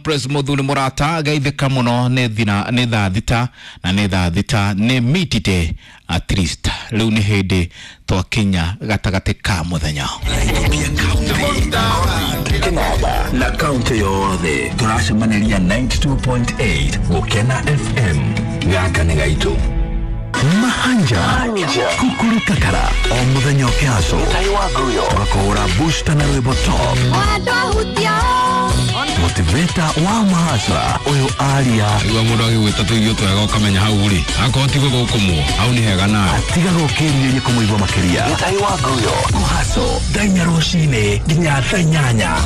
Pres Muthuri Murata geithĩka mũno nĩ thina nĩ thaa thita na nĩ thaa thita nĩ mitite at least rĩu nĩ hĩndĩ twakinya gatagatĩ ka mũthenya. Kinaba na kaunti yothe tũracemaniria 92.8 Gũkena FM gaka nĩ gaitũ. Mahanja kukuru kakara o mũthenya ũkĩaco tũgakũhũra booster na rwĩmbo top motiveta wa mahasra ũyũ aria. Igua mũndũ agĩgwĩta tũirio twega ũkamenya hau rĩ akorwo ti gũgũkũmwo hau nĩ hega nawe. Atiga gũkĩrirĩria kũmũigua makĩria. Kũhaco thaa inya rũcinĩ nginya thaa inyanya.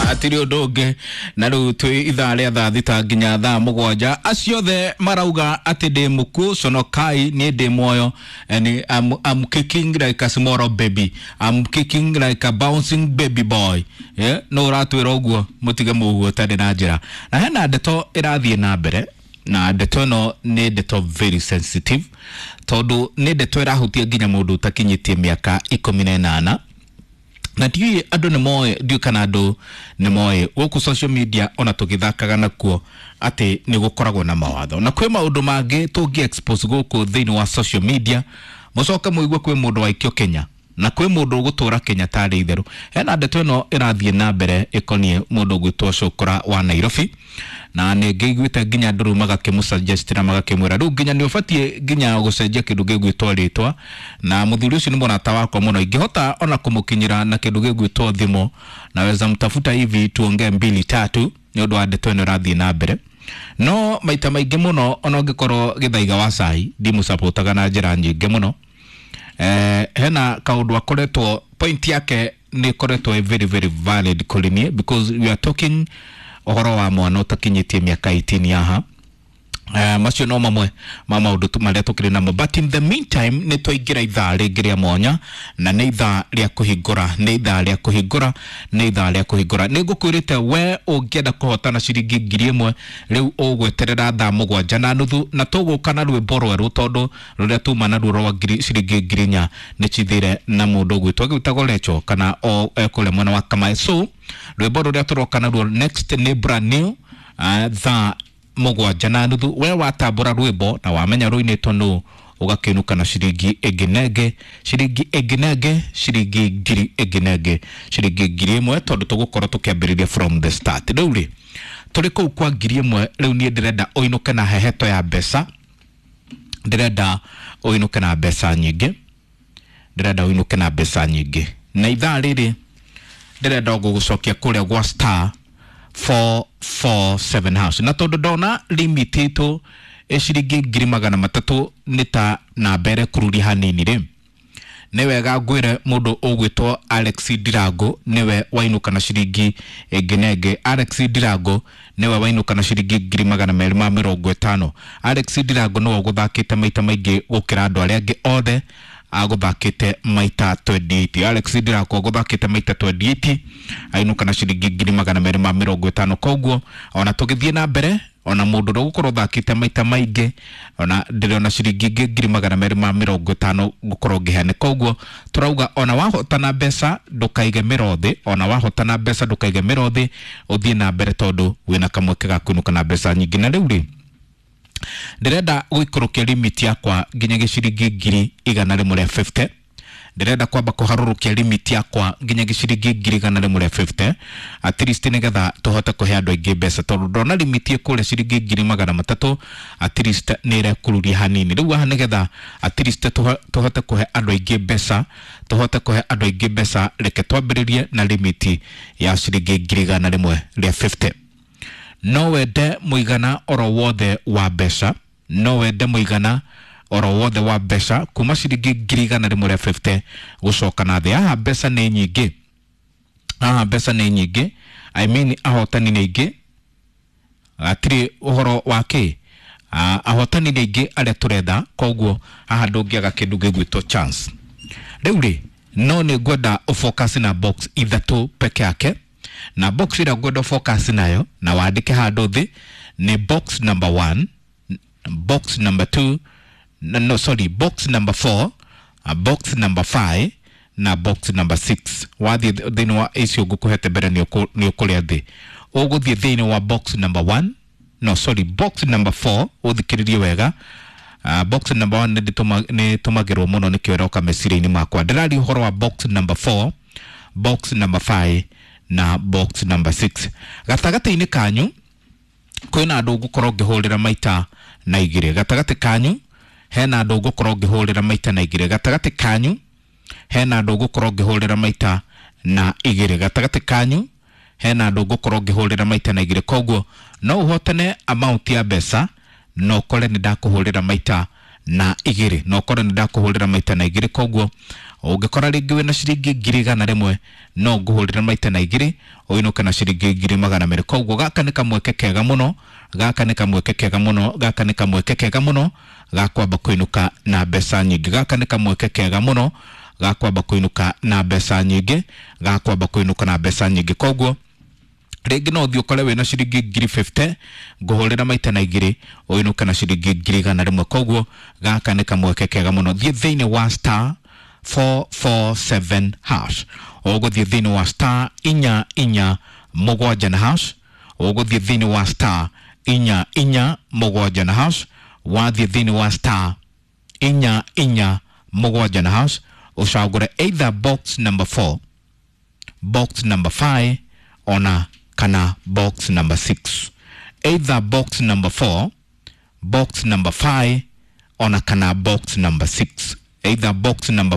Hatirĩ ũndũ ũngĩ na rĩu twĩ ithaa rĩa thaa thita nginya thaa mũgwanja. Acio othe marauga atĩ ndĩ mũkuũ, conokai, niĩ ndĩ muoyo. And I'm kicking like a small baby, I'm kicking like a bouncing baby boy, yeah? No ũratwĩra ũguo mũtige mũguo ũtarĩ na njĩra. Na hena ndeto ĩrathiĩ na mbere, na ndeto ĩno nĩ ndeto very sensitive tondũ nĩ ndeto ĩrahutia nginya mũndũ ũtakinyĩtie mĩaka 18. Na ndiũĩ andũ nĩ moĩ, ndiũĩ kana andũ nĩ moĩ gũkũ social media ona tũgĩthakaga nakuo atĩ nĩ gũkoragwo na mawatho na kwĩ maũndũ mangĩ tũngĩ expose gũkũ thĩinĩ wa social media mũcoke mũigue kwĩ mũndũ waikio Kenya na kwĩ mũndũ ũgũtũra Kenya tarĩ itherũ. Hena ndeto ĩno ĩrathiĩ na mbere ĩkoniĩ mũndũ ũgwĩtwo Cũkũra wa Nairobi, na nĩ ngĩiguĩte nginya andũ rĩu magakĩmũsuggest na magakĩmwĩra rĩu nginya nĩ ũbatiĩ nginya gũcenjia kĩndũ gĩgwĩtwo rĩtwa. Na mũthuri ũcio nĩ mũrata wakwa mũno, ingĩhota ona kũmũkinyĩra na kĩndũ gĩgwĩtwo thimũ naweza mtafuta hivi tuongee mbili tatu nĩ ũndũ wa ndeto ĩno ĩrathiĩ na mbere. No maita maingĩ mũno ona ũngĩkorwo Gĩthaiga wa Cai ndimũcapotaga na njĩra nyingĩ mũno. Hena kaũndũ akoretwo point yake nĩ ĩkoretwo ĩ very very valid kũrĩ niĩ because we are talking ũhoro wa mwana ũtakinyĩtie mĩaka 18 haha. Macio no mamwe ma maũndũ marĩa tũkĩrĩ namo, but in the meantime nĩ twaingĩra ithaa rĩngĩ rĩa mwanya na nĩ ithaa rĩa kũhingũra, nĩ ithaa rĩa kũhingũra, nĩ ithaa rĩa kũhingũra. Nĩ ngũkwĩrĩte we ũngĩenda kũhotana ciringi 1000 rĩu ũgweterera thaa mũgwanja na nuthu na tũgũka na rwĩmbo rwerũ tondũ rũrĩa tuma naruo rwa ciringi 4000 nĩ cithire na mũndũ ũgwĩtwo agĩtagwo Recho kana o ekũrĩa mwena wa Kamae. So rwĩmbo rũrĩa tũroka naruo next nĩ brand new, thaa mũgwanja na nuthu. We watambũra rwĩmbo na wamenya rũinĩtwo nũ ũgakĩinũka na ciringi ĩngĩ na ĩngĩ, ciringi ĩngĩ na ĩngĩ, ciringi ngiri ĩngĩ na ĩngĩ, ciringi 1000 tondũ tũgũkorwo tũkĩambĩrĩria from the start. Rĩu rĩ tũrĩ kũu kwa 1000 rĩu niĩ ndĩrenda ũinũke na heheto ya mbeca, ndĩrenda ũinũke na mbeca nyingĩ, ndĩrenda ũinũke na mbeca nyingĩ. Na ithaa rĩrĩ ndĩrenda gũgũcokia kũrĩa gwa star 447 house, na tondũ ndona limit itũ ĩ ciringi 300,000 nĩ ta namba ĩrekururia hanini rĩ, nĩ wega ngwĩre mũndũ ũgwĩtwo Alex Ndirango nĩwe wainũka na ciringi ĩngĩ na ĩngĩ. Alex Ndirango nĩwe wainũka na ciringi 250,000. Alex Ndirango nĩwe ũgũthakĩte maita maingĩ gũkĩra andũ arĩa angĩ othe, agũthakĩte maita 28. Alex Ndirango agũthakĩte maita 28 ainũka na ciringi 250,000. Koguo ona tũgĩthiĩ na mbere ona mũndũ ũrĩa ũgũkorwo ũthakĩte maita maingĩ ona ndĩrona ciringi ingĩ 250,000 ngũkorwo ngĩheana. Koguo tũrauga ona wahotana mbeca ndũkaige mĩro thĩ, ona wahotana mbeca ndũkaige mĩro thĩ, ũthiĩ na mbere tondũ wĩna kamweke ga kũinũka na mbeca nyingĩ. Na rĩu rĩ ndĩrenda gũikũrũkia limit yakwa nginya gĩciringi 150,000. Ndĩrenda kwamba kũharũrũkia limit yakwa nginya gĩciringi 150,000 at least nĩgetha tũhote kũhe andũ aingĩ mbeca tondũ ndona limit ĩ kũrĩa ciringi 300,000 at least nĩ ĩrekururia hanini. Rĩu haha nĩgetha at least tũhote kũhe andũ aingĩ mbeca, tũhote kũhe andũ aingĩ mbeca, reke twambĩrĩrie na limit ya ciringi 150,000. No wende mũigana oro wothe wa mbeca, no wende mũigana oro wothe wa mbeca kuma ciringi 150,000 gũcoka na thĩ. Haha mbeca nĩ nyingĩ, haha mbeca nĩ nyingĩ, I mean ahotani nĩ aingĩ, hatirĩ ũhoro wa kĩ, ahotani nĩ aingĩ arĩa tũretha, koguo haha ndũngĩaga kĩndũ gĩgwĩtwo chance. Rĩu rĩ no nĩ ngwenda ũfocus na box ithatũ peke yake, na box ĩrĩa ngwenda ũfocus nayo na wandĩke handũ thĩ nĩ box number 1, box number 2, no, no sorry, box number 4, box number 5 na box number 6. Wathiĩ thĩinĩ wa icio ngũkũhete mbere nĩ ũkũrĩa thĩ. Ũgũthiĩ thĩinĩ wa box number 1, no sorry, box number 4. Ũthikĩrĩrie wega. Box number 1 nĩ tũmagĩrwo mũno, nĩkĩo ĩroka meciria-inĩ makwa. Ndĩraria ũhoro wa box number 4, box number 5 na box number 6. Gatagatĩ-inĩ kanyu kwĩna andũ ngũkorwo ngĩhũrĩra maita na igĩrĩ. Gatagatĩ kanyu hena andũ ngũkorwo ngĩhũrĩra maita na igĩrĩ. Gatagatĩ kanyu hena andũ ngũkorwo ngĩhũrĩra maita na igĩrĩ. Gatagatĩ kanyu hena andũ ngũkorwo ngĩhũrĩra maita na igĩrĩ. Koguo no ũhotane amount ya mbeca no ũkore nĩ ndakũhũrĩra maita na igĩrĩ, no ũkore nĩ ndakũhũrĩra maita na igĩrĩ. Koguo ũngĩkora rĩngĩ wĩna ciringi 100,000, no ngũhũrĩra maita na igĩrĩ ũinũke na ciringi 200,000. Koguo gaka nĩ kamweke kega mũno, gaka nĩ kamweke kega mũno, gaka nĩ kamweke kega mũno ga kwamba kũinũka na mbeca nyingĩ. Gaka nĩ kamweke kega mũno ga kwamba kũinũka na mbeca nyingĩ, ga kwamba kũinũka na mbeca nyingĩ. Koguo rĩngĩ no ũthiĩ ũkore wĩna ciringi 50,000, ngũhũrĩra maita na igĩrĩ ũinũke na ciringi 100,000. Koguo gaka nĩ kamweke kega mũno. Thiĩ thĩinĩ wa star 447 hash. Ũgũthiĩ thĩinĩ wa star 447 na hash. Ũgũthiĩ thĩinĩ wa star 447 na hash. Wathiĩ thĩinĩ wa star 447 na hash, ũcagũre either box number 4, box number 5 ona kana box number 6. Either box number 4, box number 5 ona kana box number 6. Either box number